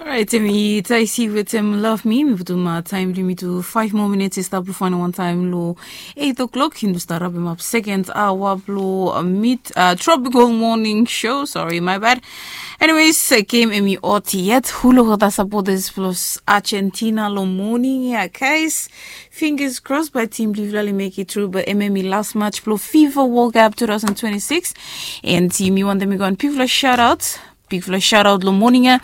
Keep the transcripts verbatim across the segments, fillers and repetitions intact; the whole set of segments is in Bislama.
Orait, em i Taisi wetem Love Me. Mi putum taem blong yumi tu five more minutes i stap long fainal wan taem long eight o'clock. Yumi tu stap rapem ap sekend aoa blong mit Tropical Morning Show. Sorry, my bad. Anyways, game em i ot yet. Huluk olgeta supporters blong Argentina long morning ya, guys. Fingers crossed by team blong yufala oli make it through, but em em i last match blong FIFA World Cup two thousand twenty-six. And team, yumi wantem i go on bigfala shout out. Bigfala shout out long morning ya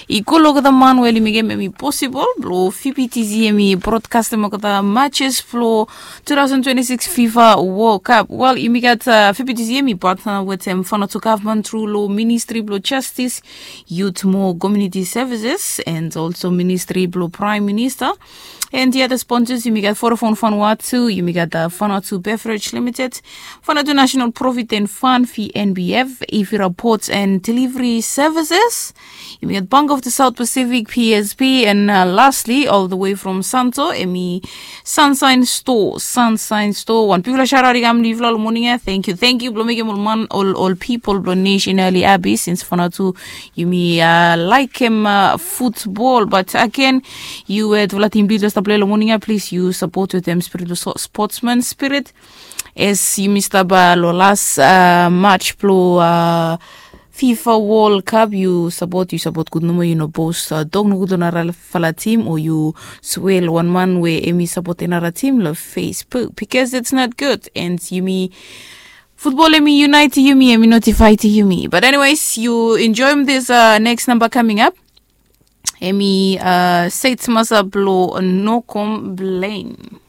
i go long olgeta man we oli mekem em i possible blong V B T C em i broadcastem olgeta matches blong two thousand twenty-six FIFA World Cup. Well, yumi gat uh, V B T C em i partner wetem Vanuatu government through long Ministry blong Justice, Youth Mo Community Services, and also Ministry blong Prime Minister. And the other sponsors, yumi gat Vodafone Vanuatu, yumi gat uh, Vanuatu Beverage Limited, Vanuatu National Provident Fund, V N B F, Ifira Ports and Delivery Services, yumi gat Bank of the South Pacific, P S P, and uh, lastly, all the way from Santo, em i Sunshine Store, Sunshine Store. Wan bigfala shout out i kam long yufala long morning ya. Thank you, thank you blong mekem ol man, ol ol people blong nation oli happy since Vanuatu yumi uh, laekem uh, football. But again, yu we olgeta team blong yufala stap play long morning ya, please yu support wetem spirit of so- sportsman spirit. As yumi stap uh, long last uh, match blong uh, FIFA World Cup, yu support, yu support gud nomo, yu no post uh, tok nogud long narafala team o yu swel wan man we em i support another team long Facebook, because it's not good. And yumi, football em i unite yumi, em i notify yumi. But anyways, yu enjoy this uh, next number coming up. Em i uh, Said Masa blong No Complain.